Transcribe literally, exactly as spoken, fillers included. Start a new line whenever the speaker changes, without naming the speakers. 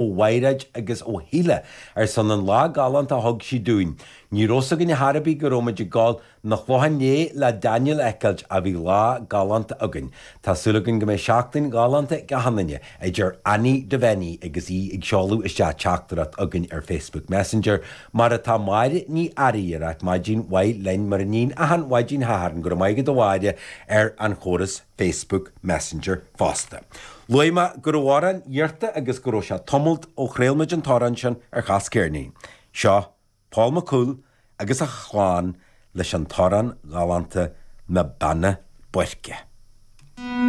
Mhaighréid agus ó Shíle ar son an lá galánta a thug sí dúinn. Ní raibh fhios againn ar chor ar bith go raibh muid ag gabháil 'na Chlocháin Léith le Daniel a fheiceáilt ach bhí lá galánta againn. Tá súil againn go mbeidh seachtain ghalánta ag achan duine, a deir Annie Devaney agus í ag seoladh isteach teachtaireacht againn ar Facebook Messenger, mar atá Máire Ní Fhearraigh ag ráit maidin mhaith linn mar a níonn achan mhaidin Shathairn go raibh maith agat a Mháire ar an chóras Facebook Messenger fosta. Luaigh mé go raibh amhrán iarrta agus go raibh sé tamalt ó chraol muid an t-amhrán sin ar Chas Ceirnín. Seo Paul McCool agus a chlann leis an t-amhrán galánta Na Beanna Boirche.